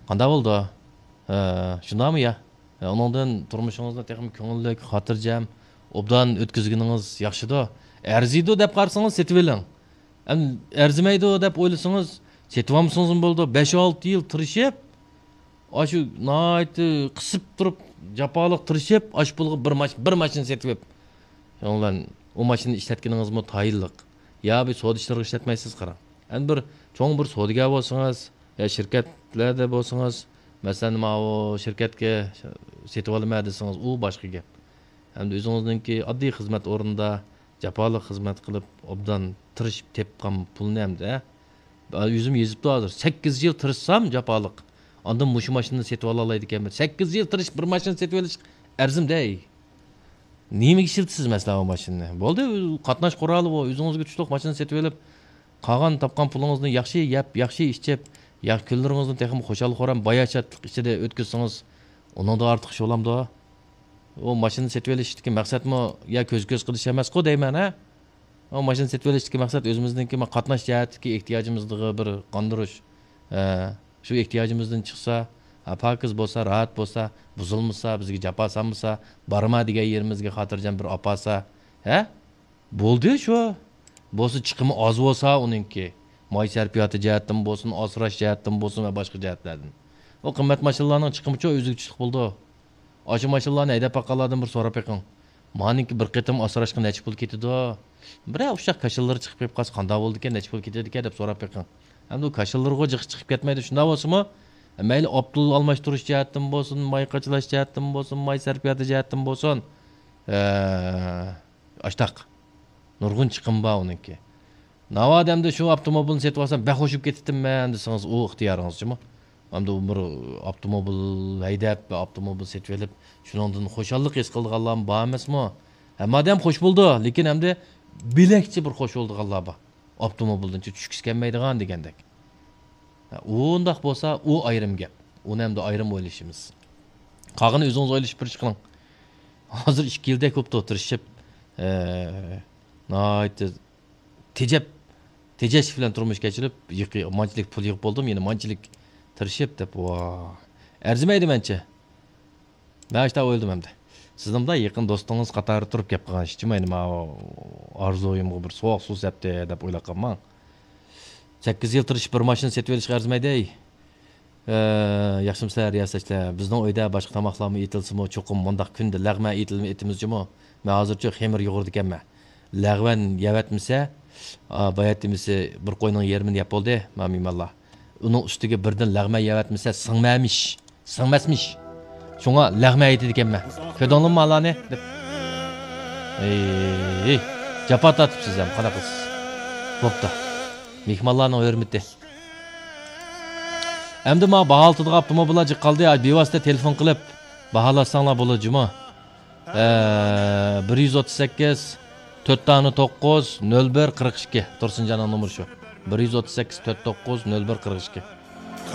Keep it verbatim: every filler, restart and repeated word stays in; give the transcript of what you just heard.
قانداق بولىدۇ؟ ھە، شۇنداقمۇ يا؟ ھە، ئۇنىڭدىن تۇرمۇشىڭىزنى تېخىمۇ كۆڭۈللۈك، خاتىرجەم، ئوبدان ئۆتكۈزگىنىڭىز ياخشىدۇ. ئەرزىيدۇ دەپ قارىسىڭىز سېتىۋېلىڭ. ئەم، ئەرزىمەيدۇ دەپ ئويلىسىڭىز سېتىۋالمىسىڭىزمۇ بولىدۇ. بەش-ئالتە يىل تىرىشىپ، ئاشۇ ناھايىتى قىسىپ تۇرۇپ، جاپالىق تىرىشىپ، ئاشۇ پۇلغا بىر ماش-، بىر ماشىنا سېتىۋېلىپ، شۇنىڭ بىلەن ئۇ ماشىنىنى ئىشلەتكىنىڭىزمۇ تايىنلىق. يا بىر سودا ئىشلىرىغا ئىشلەتمەيسىز، قاراڭ. ئەمدى بىر چوڭ بىر سودىگەر بولسىڭىز، يا شىركەتلەردە بولسىڭىز، مەسىلەن، ماۋۇ شىركەتكە سېتىۋالىمەن دېسىڭىز، ئۇ باشقا گەپ. ئەمدى ئۆزىڭىزنىڭكى ئاددىي خىزمەت ئورنىدا جاپالىق خىزمەت قىلىپ، ئوبدان تىرىشىپ تېپقان پۇلنى ئەمدى، ھە؟ ئۆزۈم يېزىپتۇ ھازىر. سەككىز يىل تىرىشسام جاپالىق. ئاندىن مۇشۇ ماشىنىنى سېتىۋالالايدىكەنمەن. سەككىز يىل تىرىشىپ بىر ماشىنا سېتىۋېلىش ئەرزىمدەي. نېمىگە ئىشلىتىسىز مەسىلەن ئۇ ماشىنىنى؟ بولدى، قاتناش قورالى بۇ. ئۆزىڭىزگە تۇشلۇق ماشىنا سېتىۋېلىپ، قالغان تاپقان پۇلىڭىزنى ياخشى يەپ، ياخشى ئىچىپ، يا-، كۈنلىرىڭىزنى تېخىمۇ خۇشال-خۇرام، باياشاتلىق ئىچىدە ئۆتكۈزسىڭىز، ئۇنىڭدىن ئارتۇق ئىش بولامدۇ؟ ئۇ ماشىنا سېتىۋېلىشتىكى مەقسەتمۇ يا كۆز-كۆز قىلىش ئەمەسقۇ دەيمەن، ھە؟ ئۇ ماشىنا سېتىۋېلىشتىكى مەقسەت ئۆزىمىزنىڭكى ما-، قاتناش جەھەتتىكى ئېھتىياجىمىزنى بىر قاندۇرۇش. ھە، شۇ ئېھتىياجىمىزدىن چىقسا، ھە، پاكىز بولسا، راھەت بولسا، بۇزۇلمىسا، بىزگە جاپا سالمىسا، بارما دېگەن يېرىمىزگە خاتىرجەم بىر ئاپارسا، ھە؟ بولدى شۇ. بولسا چىقىمى ئاز بولسا ئۇنىڭكى. ماي سەرپىياتى جەھەتتىن بولسۇن، ئاسراش جەھەتتىن بولسۇن ۋە باشقا جەھەتلەردىن. ئۇ قىممەت ماشىنىلارنىڭ چىقىمىچۇ ئۆزىگە چۈشلۈك بولىدۇ. ئاشۇ ماشىنىلارنى ھەيدەپ باققانلاردىن بىر سوراپ بېقىڭ. مانىڭكى بىر قېتىم ئاسراشقا نەچچە پۇل كېتىدۇ؟ بىرەر ئۇششاق كاشىلىرى چىقىپ كېلىپ قالسا، قانداق بولىدىكەن، نەچچە پۇل كېتىدىكەن دەپ سوراپ بېقىڭ. ئەمدى ئۇ كاشىلىرىغۇ جىق چىقىپ كەتمەيدۇ. شۇنداق بولسىمۇ، مەيلى ئاپتول ئالماشتۇرۇش جەھەتتىن بولسۇن، ماي قاچىلاش جەھەتتىن بولسۇن، ماي سەرپىياتى جەھەتتىن بولسۇن، ئە، ئاشتاق. نۇرغۇن چىقىم بار ئۇنىڭكى. ناۋادا ئەمدى شۇ ئاپتوموبىلنى سېتىۋالسام، بەك خوش بولۇپ كېتەتتىممەن دېسىڭىز، ئۇ ئىختىيارىڭىزچىمۇ. ئەمدى ئۇ بىر ئاپتوموبىل ھەيدەپ، بىر ئاپتوموبىل سېتىۋېلىپ، شۇنىڭدىن خۇشاللىق ھېس قىلىدىغانلارمۇ بار ئەمەسمۇ؟ ھەممە ئادەم خوش بولىدۇ، لېكىن ئەمدى بۆلەكچە بىر خوش بولىدىغانلار بار. ئاپتوموبىلدىن چۈشكۈسى كەلمەيدىغان دېگەندەك. ھە، ئۇنداق بولسا، ئۇ ئايرىم گەپ. ئۇنى ئەمدى ئايرىم ئويلىشىمىز. قالغىنى ئۆزىڭىز ئويلىشىپ بېرىش قىلىڭ. ھازىر ئىككى يىلدەك بوپتۇ تىرىشىپ، ئە، ناھايىتى تېجەپ، تېجەش بىلەن تۇرمۇش كەچۈرۈپ، يىقى-، مانچىلىك پۇل يىغىپ بولدۇم، يەنە مانچىلىك تىرىشىپ دەپ، ۋا، ئەرزىمەيدۇ مەنچە. مەن شۇنداق ئويلىدىم ئەمدى. سىزنىڭ بىلەن يېقىن دوستىڭىز قاتارىدا تۇرۇپ گەپ قىلغان ئىشچىمۇ، يەنە ماۋۇ ئارزۇيۇمغا بىر سوغۇق سۇ سەپتى دەپ ئويلاپ قالماڭ. سەككىز يىل تىرىشىپ بىر ماشىنا سېتىۋېلىشقا ئەرزىمەيدۇ. ئە، ياخشىمۇسىلەر رىياسەتچىلەر؟ بىزنىڭ ئۆيدە باشقا تاماقلارمۇ ئېتىلسىمۇ، چوقۇم مۇنداق كۈندە لەغمەن ئېتىلمە-، ئېتىمىز جۇمۇ. مەن ھازىرچۇ خېمىر يۇغۇرىدىكەنمەن. لەغمەن يەۋەتمىسە، ئا، باياتىمىسى بىر قوينىڭ يېرىمىنى يەپ بولدى، ما مېھمانلار. ئۇنىڭ ئۈستىگە بىردىن لەغمەن يەۋەتمىسە سىڭمەمىش، سىڭمەسمىش. شۇڭا لەغمەن ئېتىدىكەنمەن. كۆردۈڭلارمۇ مالارنى؟ دەپ. ھەي، جاپا تارتىپسىز ھەم، قانداق قىلىسىز؟ بوپتۇ. مېھمانلارنىڭ ھۆرمىتى. ئەمدى ماڭا باھالىتىدىغان ئاپتوموبىللار جىق قالدى. بىۋاسىتە تېلېفون قىلىپ باھالاتساڭلار بولىدۇ جۇمۇ. ئە، بىر يۈز ئوتتۇز سەككىز، تۆت دانە توققۇز، نۆل بىر، قىرىق ئىككى. تۇرسۇنجاننىڭ نومۇرى شۇ. بىر يۈز ئوتتۇز سەككىز، تۆت توققۇز، نۆل بىر، قىرىق ئىككى.